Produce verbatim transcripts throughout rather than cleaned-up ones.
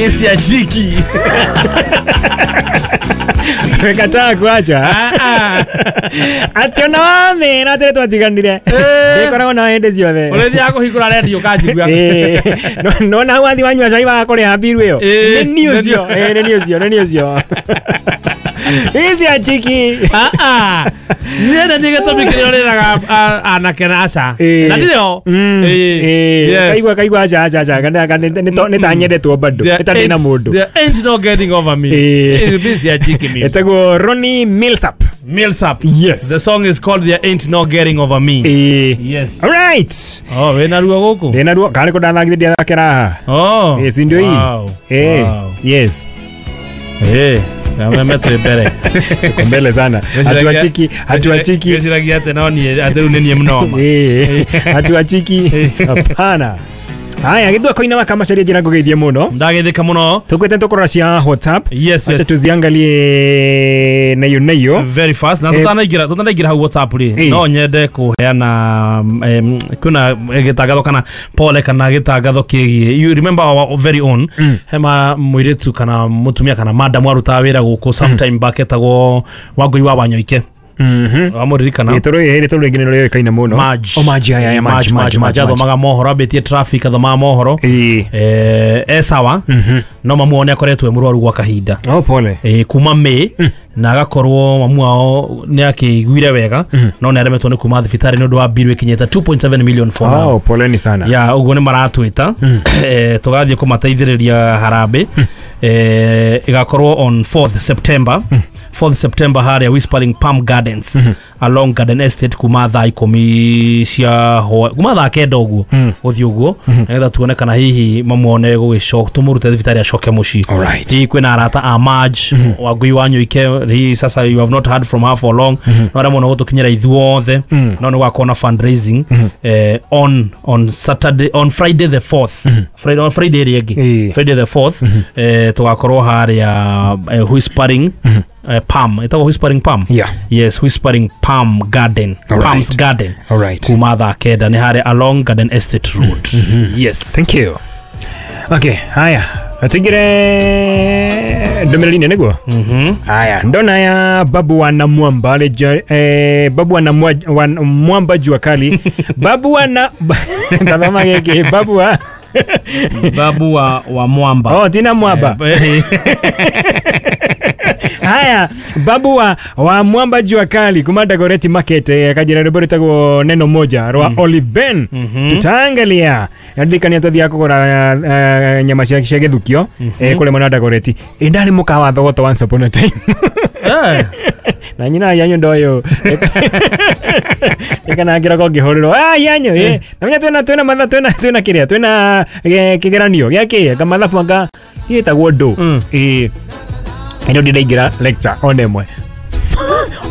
Mimi siachiki. Kataa kuacha. Ah ah. Ati ona wamera atĩ twatiganire. Ndikoragwo na hĩndĩ ciothe. Ũrĩthiaga kũhingũra redio kanjigua. Eh. No na wathi wanyua cai wa kũrĩha mbiru ĩyo. Eh. Nĩ niĩ ũcio. Eh, nĩ niĩ ũcio, nĩ niĩ ũcio. Mimi siachiki. Ah ah. Niĩ nĩ niĩ gĩtũmi kĩrĩa ũrĩraga anake na aca. Eh. Na ndirĩ ho. Mm. Eh. Eh. Yes. Kaigua kaigua aca aca aca kana kana nĩ ta nyendetwo bado. There Nĩ ta ndĩ na ain't- mũndũ. There ain't no getting over me. Eh. Eh, Mimi siachiki mimi. Etagwo Ronnie Millsap. Millsap. Yes. The song is called There Ain't No Getting Over Me. Eh. Yes. All right. Oh, wĩna ruo gũkũ? Ndĩna ruo kana nĩ ndathakithia ndiathakĩra haha. Oh. Eh, si ndio hii? Wow. Eh. Wow. Yes. Eh, na twĩ mbere. Tuko mbele sana. Hatuachiki, hatuachiki. Ngwĩciragia atĩ no niĩ atĩ rĩu nĩ niĩ mnoma. Eh, hatuachiki. Hapana. Haya, githua koina wakamacaria njira ngugeithie muno. Ndagethĩka mũno. Tukwete tukorora cia WhatsApp. Yes, Acha yes. tuziangalie nayo nayo. Very fast. Na Eh. tutanaingĩra tutanaingĩra hau WhatsApp rĩ. Eh. No nyende kũheana em, kwĩna gĩtangatho kana pole kana gĩtangatho kĩgiĩ. You remember our very own hema mũirĩtu kana mũtumia kana madam arutaga wĩra gũkũ sometime back etagwo Wangũi wa Wanyoike. Mhm. Wamũririkana? Gĩtũrũ gĩtũrũ rĩngĩ nĩ rĩoĩkaine mũno. Maj. O Maj, ya ya Maj, Maj, Maj, athomaga mohoro ambĩtie traffic athomaga mohoro. Eh. Eh, e sawa no mamu wao nĩ akoretwo e mũrwaru gwa kahinda. Oh, pole. Eh, kuma May na agakorwo mamu wao nĩ akĩiguire wega no nĩ aremetwo nĩ kuma thibitarĩ nĩ ũndũ wa bill ĩkinyĩte two point seven million for now. Oh, poleni sana. Ya ũguo nĩ maratwĩta eh, tũgathiĩ kũmateithĩrĩria harambĩ eh, ĩgakorwo on fourth September. fourth September harĩa Whispering Palm Gardens along Garden Estate kuma thaa ikũmi cia hwa kuma thaa kenda ũguo gũthiĩ ũguo nĩgetha tuone kana hihi mamuone gũgĩcoka tũmũrute thibitarĩ acoke mũciĩ. Alright. Hihi kwĩna arata a Maj Wangũi wa Nyoike hihi sasa you have not heard from her for long no arĩa mũno gũtũkinyĩra ithuothe no nĩ gwakorwo na fundraising eh, on on Saturday on Friday the fourth Friday on Friday ĩrĩa ĩngĩ Eh. Friday the fourth eh, tũgakorwo harĩa eh, Whispering uh, Palm ĩtagwo Whispering Palm. Yeah. Yes, Whispering Palm Garden. All Palms right. Garden. All right. Kuma thaa kenda nĩ harĩa along Garden Estate Road. Yes. Thank you. Okay, haya. Tuingire ndũmĩrĩri-inĩ nĩguo? Mhm. Haya, ndona ya babu wa Namwamba leja, eh, babu wa Namwa, wa Mwamba jua kali. Babu wa na tazama gĩkĩ babu wa Babu wa wa Mwamba. Oh, tina Mwamba. Eh, Haya, babu wa, wa Mwamba jua kali kuma Dagoretti Market eh, kajira rwĩmbo rwĩtagwo neno moja rwa Olive Ben. Tutaangalia ndirikania twathiaga kũgũra eh, nyama cia cia gĩthukio eh, kũrĩa mwena wa Dagoretti. Ĩ ndarĩ mũkawa Thogoto once upon a time. Eh. Na nyina yanyu ndoyo ikana ngĩroka ngĩhũrĩrwo ah yanyu eh na menya twĩna twĩna matha twĩna twĩna kĩrĩa twĩna eh, kĩgeranio gĩa kĩ anga mathabu anga gĩtagwo ndũ Mm. ĩ ĩno ndĩraingĩra lecture ona ĩmwe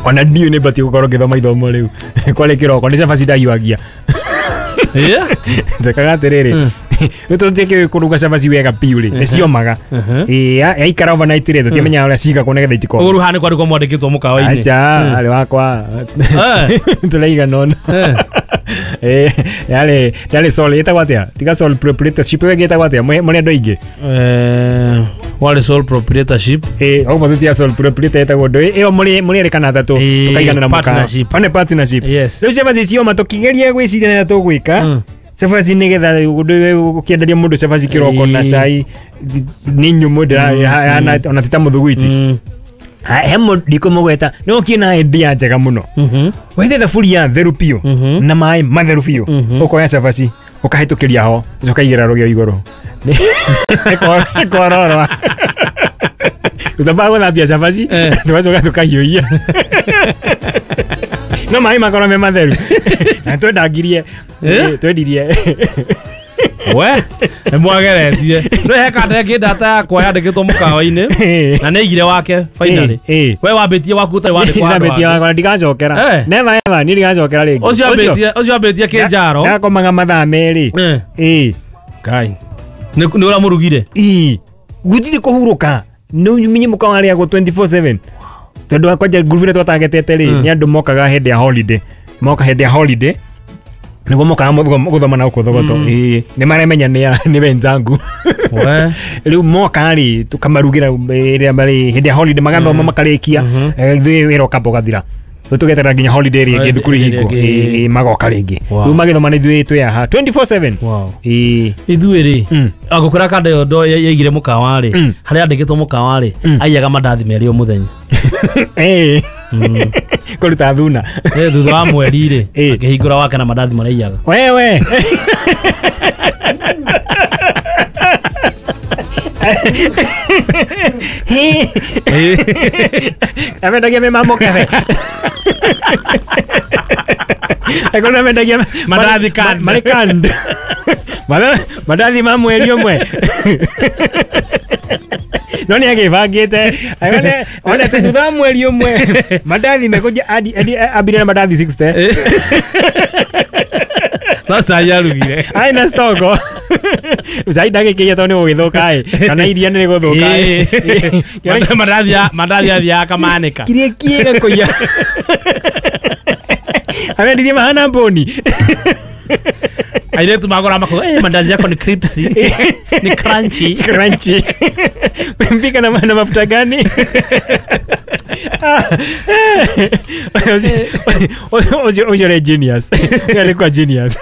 ona ndiũ nĩ batiĩ gũkorwo ngĩthoma ithomo rĩu kwarĩ kĩroko nĩ cabaci ndahiũhagia Yeah. njekaga atĩrĩrĩ rĩu tũtiĩkĩũĩ kũruga cabaci wega biũ rĩ nĩ ciomaga ĩ yaikara overnight rĩ tũtiamenyaga ũrĩa cigagwo nĩgetha itikome Ũguo rĩu haha nĩ kwarĩkwo mwandĩkĩtwo mũkawa-inĩ. acha arĩ wakwa Eh. tũraigana ũna Eh. Eh, yarĩ yarĩ sole ĩtagwo atĩa tiga sole proprietorship ĩyo ĩngĩ ĩtagwo atĩa Mwe- mũrĩ andũ aingĩ Eh, warĩ sole proprietorship. ĩ opposite ya sole proprietor ĩtagwo ndũ ĩyo mũrĩ mũrĩ erĩ kana atatũ Ĩ, tũkaigana na mũkawa partnership. one partnership Yes. rĩu cabaci cioma tũkĩgeria gwĩciria nĩatĩa tũgwĩka Mm. cabaci nĩgetha ũkĩenderia mũndũ cabaci kĩroko na Ĩ. cai nĩ nyũmũ ndĩra ona ti ta mũthuguiti Mm. he mũndũ ndikũmũgweta nĩ ũkiĩ na idea njega mũno Mhm. wethe thaburia theru biũ Mhm. na maĩ matheru biũ Mhm. ũkoya cabaci ũkahĩtũkĩria ho ũkaigĩra rũgĩo igũrũ Nĩ kwororwa tũtambaga gũthambia cabaci Eh. tũgacoka tũkahiũhia no maĩ makorwo me matheru na twendangirie Eh? twendirie We, nĩ mwageretie. No he kanda ĩngĩ data yakwa yandĩkĩtwo mũkawa-inĩ na nĩ aigire wake finally. Eh, eh. We wambĩtie waku ũtarĩ wandĩkwo handũ Ndambĩtie hangĩ. wakwa ndigacokera Eh. never ever niĩ ndigacokera rĩngĩ Ũcio ambĩtie ũcio ambĩtie kĩnjaro. ndakomaga mathaa merĩ Eh. ĩ Ngai. Nĩ nĩ ũramũrugire. ĩ gũtirĩ kũhurũka nĩ minye mũkawa arĩagwo twenty four seven tondũ kwanja ngurubu ĩrĩa twatagetete rĩ Mm. nĩ andũ mokaga hĩndĩ ya holiday moka hĩndĩ ya holiday Niguo mokaga guthoma na guku Thogoto. Ĩĩ nĩ maremenya nĩ nĩ wenzangu. We Rĩu moka rĩ tũkamarugĩra rĩrĩa marĩ hĩndĩ ya holiday magathoma makarĩkia, ithuĩ wĩra ũkamba ũgathira. Rĩu tũgeterera nginya holiday rĩngĩ thukuru ihingwo, ĩĩ magoka rĩngĩ. Rĩu magĩthoma nĩ ithuĩ twĩ haha twenty-four seven. Ĩĩ ithuĩ rĩ agũkora kanda ĩyo ndo yaigire mũkawa rĩ, harĩa andĩkĩtwo mũkawa rĩ aiyaga mandathi merĩ o mũthenya. Ĩĩ kũruta thuna. Ĩĩ thutha wa mweri rĩ akĩhingũra wake na mandathi marĩa aiyaga. Wewe amendagia me mamũkebe. Ekona amendagia mandathi canned. Marĩ canned. Mandathi ma mweri ũmwe. No nĩ agĩbangĩte one thutha wa mweri ũmwe mandathi mekũnjia ambire na mandathi sixty. No cai arugire. Ai na stoko. Cai ndagĩkĩia tondũ nĩ gũgĩthũka ĩ kana iria nĩ rĩgũthũka ĩ. Mandathi mandathi athiaga akamanĩka. Kĩrĩa kĩega kũiya. Amendirie mahana mbũni. Airĩtu magũra makuga eh mandazi yako ni crispy ni crunchy. Crunchy. Mpika na na mafuta gani? Ojo ojo genius. Alikuwa genius.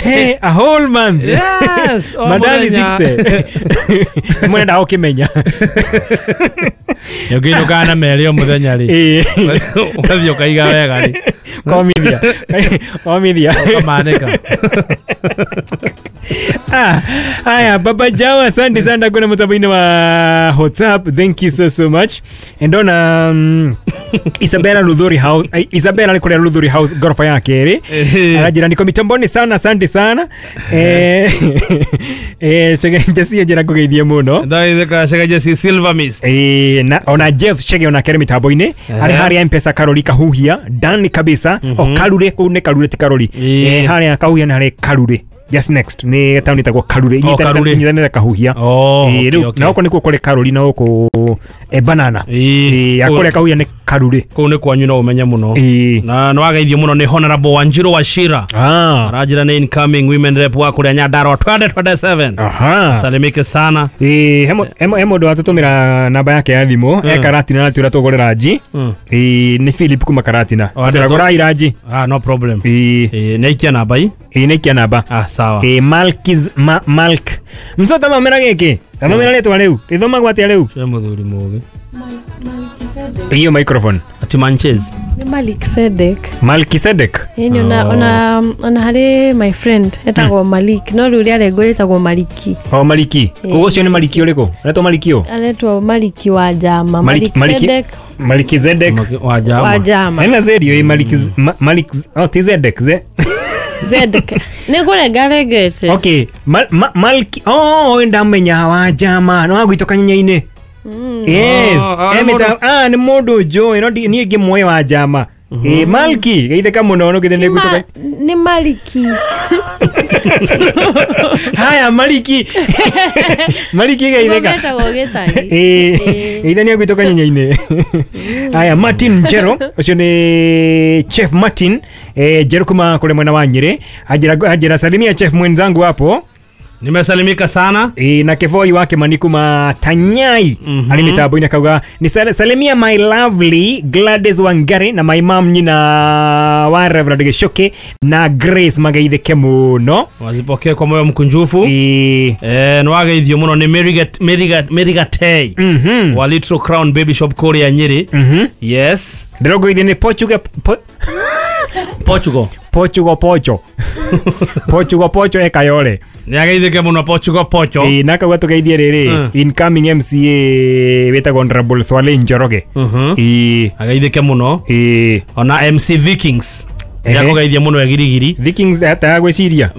Hey, a whole month. Yes. Mandazi sixty. Mwenda ukimenya. Ũngĩinũkaga na merĩ o mũthenya rĩ. Ũgathiĩ ũkaiga wega rĩ. Komithia. Komithia. Ũkamanĩka. Ah, haya Baba Jao, asante sana kuna mtambo-inĩ wa WhatsApp. Thank you so so much. And on um, Isabella Luthuri House, Isabella alikuwa Luthuri House gorofa ya kerĩ. Arajira niko mitamboni sana, asante sana. Eh eh Chege Jesse njira kugeithie muno. Ndaitheka Chege Jesse Silver Mist. Eh na ona Jeff Chege ona kerĩ mitambo-inĩ. Ari hari M-Pesa Karoli Kahuhia, ndani kabisa. O Karure kuu nĩ Karure ti Karoli. Eh hari Kahuhia na hari Karure. Just next ni town itagwo Karure inyitanĩte Kahuhia. Eh rĩu na gũkũ nĩkuo kũrĩ Karori na gũkũ e banana. Eh akũrĩa Kahuhia nĩ Karure. Kũu nĩ kwanyu no ũmenye mũno. Na nĩ wageithio mũno nĩ Honorable Wanjiru Wachira. Aranjĩra nĩ incoming women rep wa kũrĩa Nyandarua twenty twenty-seven. Aha. Salimike sana. Eh hemo hemo ndo atũtũmĩra namba yake ya thimũ e Karatina na tũra tũgũrĩra nji. Eh nĩ Philip kuma Karatina. Tũragũra iranji. Ah no problem. Eh nĩ aikia namba ii. Eh nĩ aikia namba. Ah sawa. Eh Malkiz ma, Malk. Msota thomera gĩkĩ. Thomera rĩtwa rĩu. Rĩthomagwo atĩa rĩu? Cia mũthuri mũgĩ. Hiyo microphone. Ati Manches. Ni Malik Sedek. Malkisedek. Yeni ona ona ona hari my friend etagwo Malik no rĩu rĩa rengwo rĩtagwo Maliki. Oh Maliki. Koguo ũcio nĩ Maliki ũrĩkũ? Aretwo Maliki ũ? Aretwo Maliki wa Jama. Malik Sedek. Maliki Zedek wa Jama. Wa Jama. Ena zerio ĩ Malik Malik oh ti Zedek ze. Zedek. Nĩ kũrenga rengete. Okay, Mal, Malki oh ndamenya wa Jama no agwitwo kanyenya-inĩ. Yes. Emita ah ni mundu njũĩ no niĩ ngĩmuoĩ wa Jama. Eh Malki geithĩka mũno no githĩ nĩ gwitũ nĩ Maliki. Haya Maliki. Maliki geithĩka. Metagwo gĩcagi. Eh geithania nĩ gwitũ kanyenya-inĩ. Haya Martin Njero ũcio nĩ Chef Martin eh Njero kuma kũrĩ mwena wa Nyĩrĩ. Anjĩra anjĩra salimia chef mwenzangu hapo. Nimesalimika sana. E, na kevoi wake manikuma Tanyai. Mm -hmm. Ali mitambo ina kauga ni salimia my lovely Gladys Wangari na my mom nyina wa Reverend Gichuki na Grace mageithike muno. Wazipokee kwa moyo mkunjufu. E, eh nwageithio muno ni Merigat Merigat Merigatei. Mm -hmm. Wa Little Crown Baby Shop Korea Nyeri. Mm -hmm. Yes. Ndirogoithio ni Portugal po Portugal. Portugal Pocho. Portugal Pocho ekayole. Nĩageithĩke mũno Portugal Pocho. Ĩĩ na kauga tũgeithie rĩrĩ incoming M C A wĩtagwo Honorable Swale Njoroge. Ĩĩ ageithĩke mũno. Ĩĩ ona M C Vikings. Nĩakũgeithia mũno egirigiri. Vikings ata gwĩciria.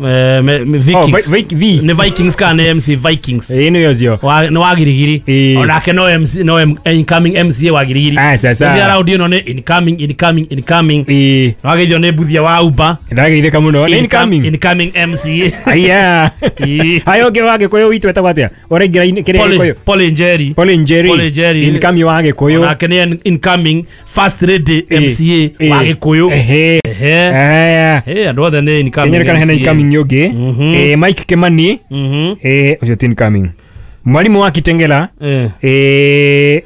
Vikings. Nĩ Vikings kana nĩ M C Vikings. Ĩĩ nĩ ũcio. Nĩ wa girigiri. Onake no M C no incoming M C A wa girigiri. Ũcio round ĩno nĩ incoming incoming incoming. Ĩĩ. Nĩwageithio nĩ Mbuthia wa Uber. Ndageithĩka mũno. Nĩ incoming. Incoming M C A. Aya. Hayo ũngĩ wa Gĩkũyũ witũ etagwo atĩa? Ũraingĩra kĩrĩa Gĩkũyũ. Paul Njeri. Paul Njeri. Paul Njeri. Incoming wa Gĩkũyũ. Onake nĩ incoming first lady M C A wa Gĩkũyũ. Ehe. Ehe. Aya. Eh, andũ othe nĩ incoming. Kenyere kana hena M C A. incoming yoge. Mhm. Eh, Mike Kimani. Mhm. Eh, ucio ti incoming. Mwalimu wa Kitengela. Eh. Eh,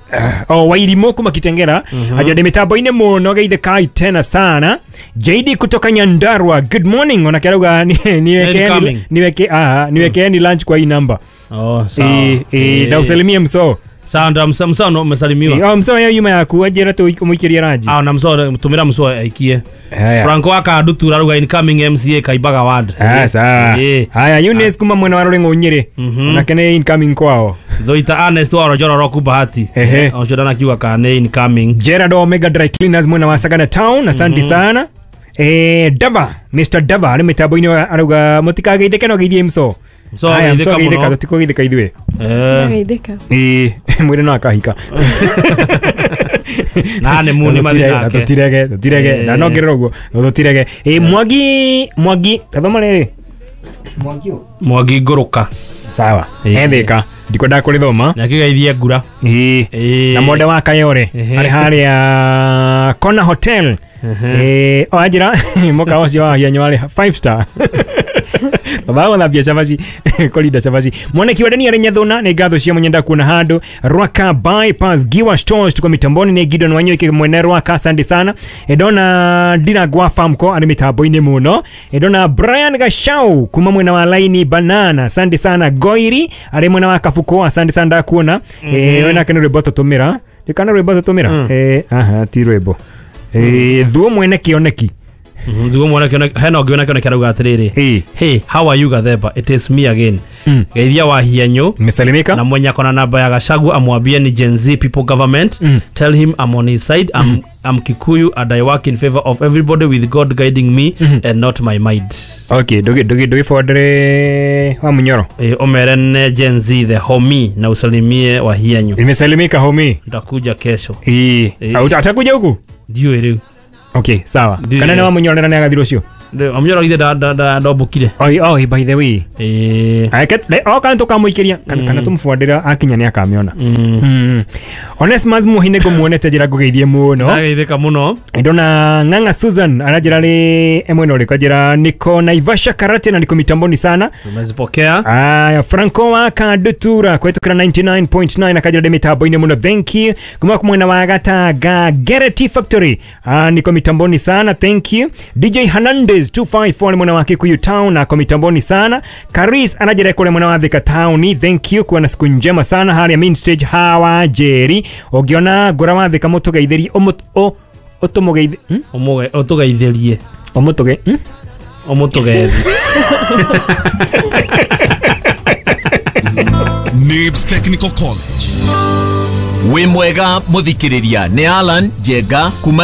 oh, Wairimu kuma Kitengela. Ajade mitambo-inĩ mũno geithe kai tena sana. J D kutoka Nyandarua, good morning. Ona kerauga niwekeeni Incoming. niweke ah niwekeeni lunch kwa hii namba. Oh, sawa. Eh, eh, na usalimie mso. Sawa, nda msa msa no umesalimiwa. Eh, oh, mso yo yuma yaku ajira tu umuikirie ranji. Ah, na msa tumira mso aikie. Haya. Franco akadutura ruga incoming M C A Kaibaga ward. Ah, sawa. Eh. Haya, Eunice kuma mwena wa Ruring'u Nyeri. Ona kene incoming kwao. Thoita Ernest wa Rojoro Roku Bahati. Ehe. Ocio ndanakiuga kana nĩ incoming. Gerard Omega Dry Cleaners mwena wa Sagana Town, asante sana. Eh, Dava, Mister Dava ari mitambo-inĩ arauga mũtikageithĩke no geithie mso. Mso Haya, mso ageithĩka geithĩka mũno. tũtikũgeithĩka ithuĩ. Eh. Geithĩka. Ĩĩ, mwĩrĩ no akahika. Na nĩ mu nĩ mathi nake. Tũtirege, tũtirege. Na no ngerera ũguo, tũtirege. Ĩ, Mwangi, Mwangi, tathoma rĩrĩ. Mwangi ũ? Mwangi ngũrũka. Sawa. Ĩĩ. Ethĩka. Ndikwendaga kũrĩthoma. Nĩakĩgeithie ngura. Ĩĩ. Ĩĩ. Na mwende wa Kayore Ehe. arĩ harĩa Kona Hotel. Eh, o anjĩra mũkawa ũcio wa Hianyo warĩ five star. Baba gũthambia cabaci kũrinda cabaci. Mwaniki wa Dani arĩ Nyathuna nĩ ngatho cia mũnyenda kuona handũ. Rwaka bypass Giwa Stores tuko mitamboni nĩ Gideon Wanyoike mwene Rwaka, asante sana. Ndona Ndirangwa Farmco arĩ mitambo-inĩ mũno. Ndona Brian Gashau kuma mwena wa Laini Banana, asante sana. Goiri arĩ mwena wa Kabuko, asante sana ndakuona. Eh, we nake nĩ rwĩmbo tũtũmĩra. Ndikana rwĩmbo tũtũmĩra? Eh, aha, ti rwĩmbo. Eh, thuo mwene kĩoneki. Thuo mwene kĩoneki, hena ũngĩ wĩna kĩoneki arauga atĩrĩrĩ. Ĩĩ. Hey, how are you Gathemba? It is me again. Mm. Geithia wa Hianyo. Nimesalimika. Na mwenye akona namba ya Gachagua amwambie ni Gen Z people government. Mm. Tell him I'm on his side. I'm, mm. I'm Kikuyu and I work in favor of everybody with God guiding me mm -hmm. and not my mind. Okay, dogi dogi dogi forward wa Munyoro. Eh, omerene Gen Z the homie na usalimie wa Hianyo. Nimesalimika homie. Nitakuja kesho. Eh, atakuja huku? Ndio rĩu. Okay, sawa. Kana nĩ wa Munyoro na nĩagathirwo ũcio? Wa Munyoro githĩ nda ndombũkire. Oi, oi, by the way. Eh. Ake, o kana tũkamũikĩria, kana kana tũmũbuandĩra akinya nĩ akamĩona. Mm. Onesmus Muhine ngũmuonete njĩra ngũgeithie mũno. Ndageithĩka mũno. Ndona Ng'ang'a Susan aranjĩra rĩ emwena ũrĩkũ anjĩra niko Naivasha karate na niko mitamboni sana. Tumezipokea. Aya, Franco wa Kadutura kwetukira ninety-nine point nine akanjĩra ndĩ mitambo-inĩ mũno, thank you. Kuma mwena wa Gatanga Gerety Factory. Ah, niko mitamboni sana, thank you. D J Hernandez two five four mwena wa Kikuyu Town na mitamboni sana. Karis anajira kule mwena wa Thika Town, thank you. Kuwa na siku njema sana. Hali ya main stage hawa Jerry ugiona ngora wa Thika mutugeithĩrie o ũtũmũgeithie ũmũge ũtũgeithĩrie ũmũtũge ũmũtũgethi. Nibs Technical College. Wĩ mwega mũthikĩrĩria nĩ Alan Njenga kuma